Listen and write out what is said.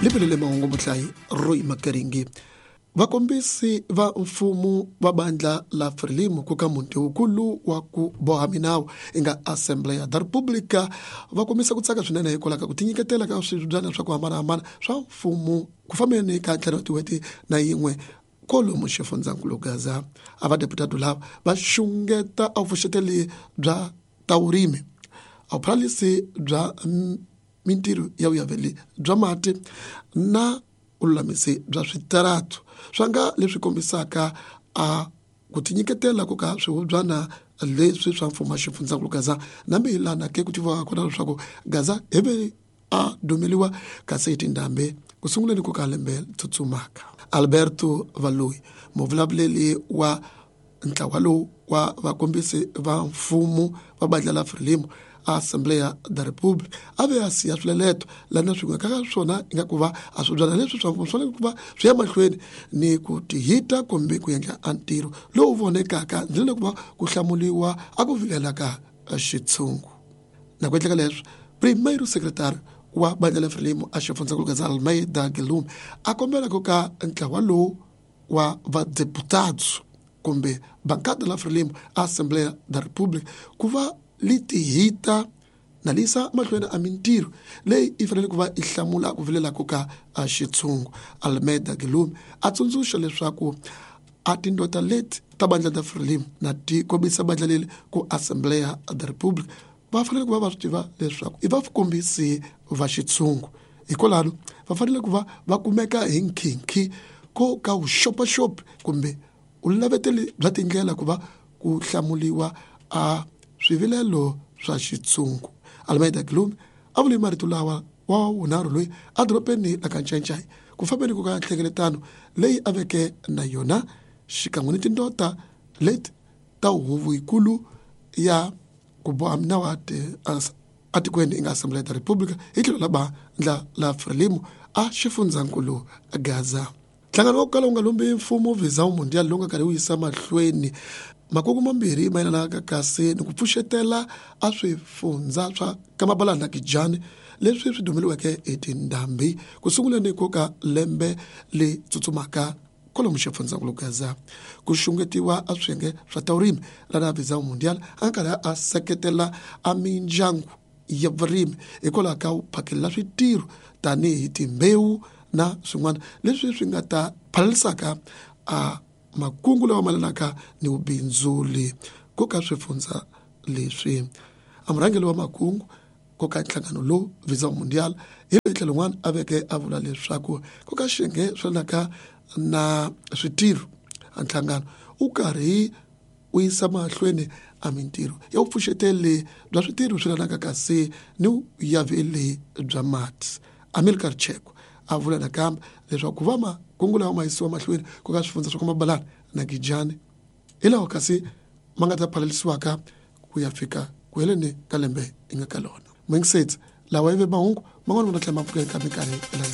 Libelele mahungu muhlayi Roy Makaringi. Vakombisi va mfumo va bandla la Frelimo ku ka muti wukulu wa ku boha minawu yi nga Assembleia da República va kombisa ku tsaka swinene hikwalaho ka ku tinyiketela ka swibyana swa ku hambanahambana swa mfumo ku fambeni ka ntlhanu wa tin'hweti na yin'we kwalomu xifundzankulu Gaza. A vadeputado lava va xungeta a vuxeteli bya ta vurimi, a vuphalalisi bya mintirho ya vuyaveli bya mati na vululamisi bya switaratu swa nga leswi kombisaka a ku tinyiketela ku ka swihubyana leswi swa mfumo wa xifundzankulu Gaza nambi hi lana ke ku tiviwaka kona leswaku Gaza hi ve a dumeliwa kasi hi tindhambi ku sunguleni ku ka lembe tsutsumaka. Alberto Valoyi muvulavuleli wa ntlawa lowu wa vakombisi va mfumo va bandla la Frelimo a Assembleia da República a ve a siya swileleto lana swin'we ka swona ingaku va a swibyana leswi swa mfumo swi fanele ku va swi ya mahlweni ni ku tihita kumbe ku endla a ntirho lowu vonekaka ndzeni ku va ku hlamuliwa a ku vilela ka xitshungu. Na ku endleka leswi primeiro secretário wa bandla la Frelimo a xifundzankulu Gaza Almeida Guillaume a kombela ku ka ntlawa lowu wa vadeputados kumbe bancada la Frelimo a Assembleia da República ku va li tihita na li yisa mahlweni a mintirho leyi yi fanele ku va yi hlamula ku vilela ku ka a xitshungu. Almeida Guillaume a tsundzuxa leswaku a tindota leti ta bandla ta Frelimo na ti kombisa bandla leri ku Assembleia da República va fanele ku va va swi tiva leswaku i vakombisi va xitshungu hikwalano va fanele ku va va kumeka hi nkhinkhi ko ka vuxopaxopi kumbe vulaveteli bya tindlela ku va ku hlamuliwa a swivilelo swa xitshungu. Almeida Guillaume a vule marito lawa wa vunharhu loyi edorobeni la ka Ncancai ku fambeni ku ka nhlengeletano leyi a veke na yona xikan'we ni tindota leti ta huvo yikulu ya ku boha minawu atikweni yi nga Assembleia da República hi tlhelo la bandla la Frelimo a xifundzankulu Gaza. Nhlangano wa ku kala wu nga lombi mfumo Visão Mundial lowu nga karhi wu yisa mahlweni makungu mambirhi mayelana kasi ni ku pfuxetela a swifundza swa Kamabalana na Kijani leswi swi dumeliweke hi tindhambi ku sunguleni ko ka lembe le tsutsumaka kwalomu xifundzankulu Gaza. Ku xungetiwa a swiyenge swa ta vurimi lana Visão Mundial a nga karhi a seketela a mindyangu ya vurimi hikwalaho ka ku phakela switirho tanihi timbewu na swin'wana leswi swi nga ta phalalisaka a makungu lawa malanaka ni vubindzuli ku ka swifundza leswi. A murhangeri wa makungu ku ka nhlangano lowu Visão Mundial hi loyi tlhelo rin'wana a veke a vula leswaku ku ka xiyenge swi lanaka na switirho a nhlangano wu karhi wu yisa mahlweni a mintirho ya vupfuxeteli bya switirho swi lanaka kasi ni vuyaveli bya mati. Amilcar Cheko a vula nakambe leswaku ku va makungu lawa ma yisiwa mahlweni ku ka swifundza swa ka Mabalana na Gijani hi lawa kasi ma nga ta phalalisiwaka ku ya fika ku heleni ka lembe hi nga ka lona. Mwingisetsi lawa yi ve mahungu man'wana ma ta tlhela ma pfuka eka minkarhi landzelaka.